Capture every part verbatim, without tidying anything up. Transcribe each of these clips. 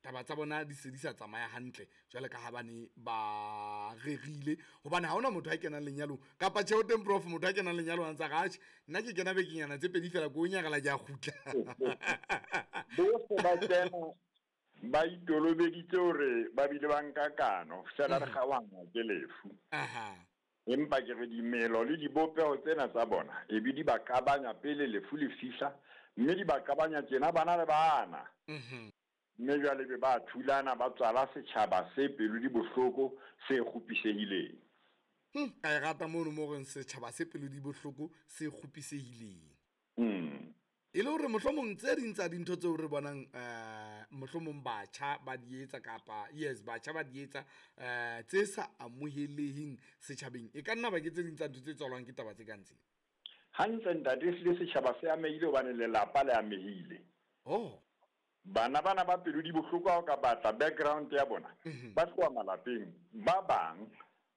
Taba tsa bona di se di sa tsamaya hantle jwale ka ha bane ba rerile, hobane ha hona motho a kenang lenyalong kapa tjhe o teng prof, motho a kenang lenyalong a ntsa re atjhe nna ke kena bekenyana tse pedi fela ko o nyarela ke a kgutla. Bohle ba kena ba itolobeditse hore ba bile ba nka kano fela re kgaohana ke lefu. Aha. Empa ke re dimelo le dibopeho tsena tsa bona e be di ba kabanya pele lefu le fihla, mme di ba kabanya tjena bana le bana. Mhm. Mme jwale be ba thulana ba tswala setjhaba se pelo di bohloko se kgopisehileng. Hm, ka e rata mono mo reng setjhaba se pelo di bohloko se kgopisehileng. Mm. E le hore mohlomong tse ding tsa dintho tseo re bonang eh mohlomong batjha ba di etsa kapa yes batjha ba di etsa eh tse sa amoheleheng setjhabeng, e ka nna ba ke tse ding tsa ntho tse tswalwang ke taba tse kang tsena. Hantle ntate, ehlile setjhaba se amehile hobane lelapa le amehile. Oh. Bana bana ba pelo di bohloko ha o ka batla background ya bona, Mhm. ba tloha malapeng, ba bang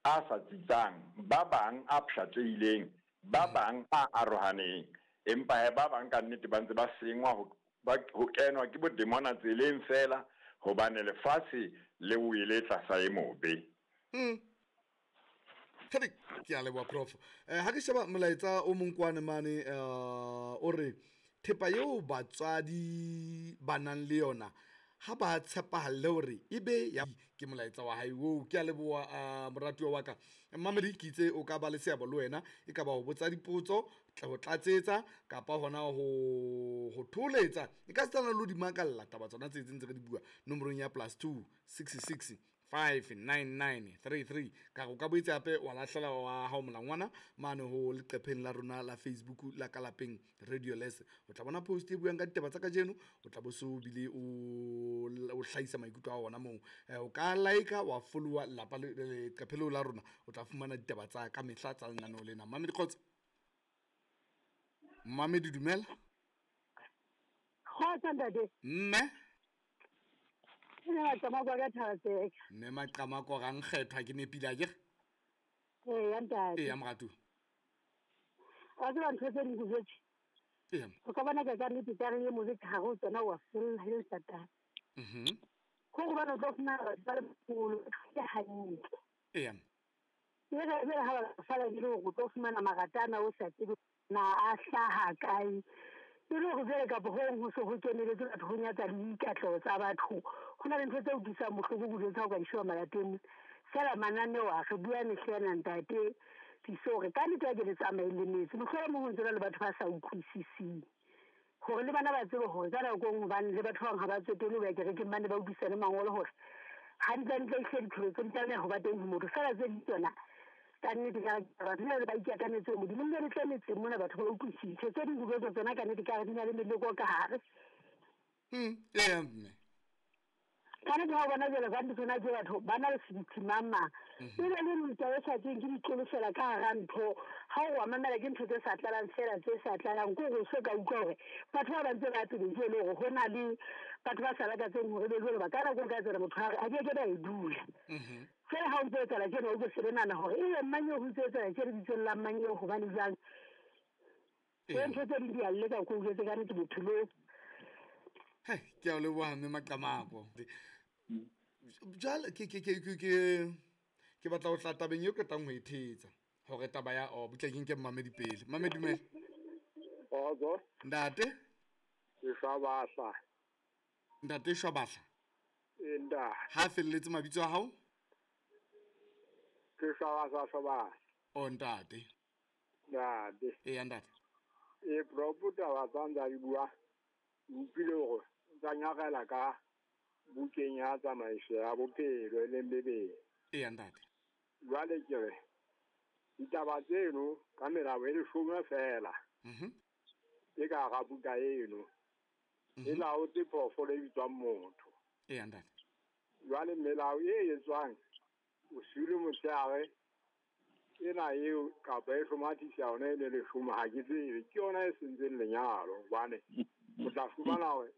a sa tsitsang, ba bang a pshatlehileng, ba Mhm. bang a arohaneng. Empa he ba bang ka nnete ba ntse ba sengwa ho, ba, ho kenwa ke bodemona tseleng fela, hobane lefatshe le wele tlasa e mobe. Mm. Kgedi, ke a leboha prof. Eh, ha ke sheba molaetsa o mong kwane mane, eh, o re thepa eo batswadi ba nang le yona ha ba tshepahalle hore e be ya, ke molaetsa wa hae oo. Ke a leboha, eh, moratuwa wa ka. Mmamedi, ke itse o ka ba le seabo le wena, e ka ba ho botsa dipotso, tla ho tlatsetsa kapa hona ho, ho thoholetsa. E ka setsana le ho di makalla taba tsona tse ntse re di bua nomorong ya plus two six six five nine nine three three. Ka re o ka boetse hape wa lahlela wa hao molangwana mane ho leqepheng la rona la Facebook la ka lapeng Radio Les. O tla bona post e buang ka ditaba tsa kajeno, o tla bo so bile o, o hlahisa maikutlo a ona moo. Eh, o ka like-a wa follow-a lelapa le, leqephe leo la rona, o tla fumana ditaba tsa ka mehla tsa lenaneo lena. Mmamedi kgotso. Mmamedi dumela. Kgotso ntate. Mme. Mme Maqamako ka Thaba-Tseka. Mme Maqamako ga nkgethwa ke nepile akere? Ee, ntate. Ee, moratuwa. Wa tseba ntho tse ding ke jwetse? Ee. O ka bona ka ka nnete ka re e mobe ka hare ho tsona wa fella e le Satane. Mhm. Ko hobane o tlo fumana batho ba le baholo, ke hantle. Ee. E re jwale ha ba sala e le hore o tlo fumana maratana o sa tsebe na a hlaha kae. E le hore jwale kapa hong ho se ho keneletse batho ho nyatsa le dikatleho tsa batho. Ho na le ntho tse utlwisang bohloko kudu tsa ho ka di sheba malapeng. Feela mananeo a re bua mehla ena ntate Tiiso hore ka nnete ha ke le tsamaye le metse. Mohlomong ho ntse le batho ba sa utlwisising. Hore le bana ba tsebe hore ka nako e nngwe hobane le batho ba bang ha ba tsotelle ho ya kerekeng, ba ne ba utlwisisa le mangolo hore hantlentle ehlile dipholo tse di tlameha ho ba teng ho motho. Feela tse ding tsona ka nnete ka re batho ba ba ikatametse ho Modimo, nne le tle metseng mona batho ba utlwisise. Tse ding dilo tsona ka nnete ka re di na le meleko ka hare. Mm, ee, mme. Ka nnete ha o bona jwale ka nnete tsona ke batho ba na le seriti mang mang. Mhm. E be le ntwa e sa tsweng ke ditlolo fela ka hara ntho. Ha o wa mamela ke ntho tse sa tlalang fela, tse sa tlalang. Ke hore o so ka utlwa hore batho ba ba ntse ba pele ke le hore ho na le batho ba sa lakatseng hore be jwalo ba ka nako e ka tsela motho a re a ke ke ba e dula. Mhm. Fela ha o ntse o etsahala tjena, o tlo se nahana hore ebe mang eo ho ntse etsahala tjena lebitsong la mang eo hobane jwang. Ee. Ntho tse ding di a leka ko jwetse ka nnete bophelong. Hei, ke a o leboha mme Maqamako. Jwale ke, ke, ke, ke, ke, ke batla ho tla tabeng eo qetang ho e thetsa. Hore taba ya, oh, butle ke nke mmamedi pele. Mmamedi dumela. Kgotso. Ntate? Ke Shwabahla. Ntate Shwabahla. Ee, ntate. Ha felletse mabitso a hao? Ke Shwabahla, Shwabahla. Oh, ntate. Ntate. Ee, ntate. Ee, propo taba tsa ntsa di bua. Utlwile hore tsa nyarela ka bukeng ya tsamaiso ya bophelo e leng Bibele. Ee, ntate. Jwale ke re ditaba tseno ka melao e leshome fela. Mhm. E ka hara buka eno. Mhm. E laotse phoofolo e bitswang motho. Ee, ntate. Jwale melao e etswang bosiu le motshehare ena eo kapa e hlomathisa yona e le leshome ha ke tsebe, ke yona e sentseng lenyalo hobane o tla fumana hore